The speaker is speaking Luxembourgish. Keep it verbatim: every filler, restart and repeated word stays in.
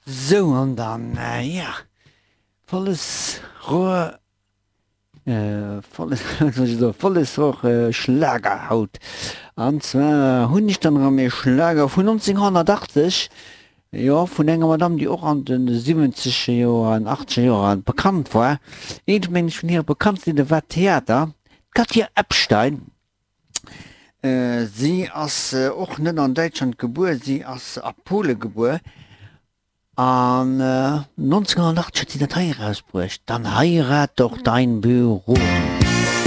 Sou, an dann, ja, volles Rohr, volles, wat soll ech soen, volles Rohr Schlager haut. An zwar hunn ech dann erëm ee Schlager vun nonzénghonnertachtzeg, jo, vun enger Madame, déi och an de siwwenzeger Joer an achtzeger Joer bekannt war. Eent, mengen ech, vun hire bekanntste Lidder war Theater, d'Katja Epstein. Si ass och net an Däitschland gebuer, si ass a Pole gebuer. An nonzénghonnertachtzeg huet si dat hei erausbruecht, Dann heirat doch dein Büro.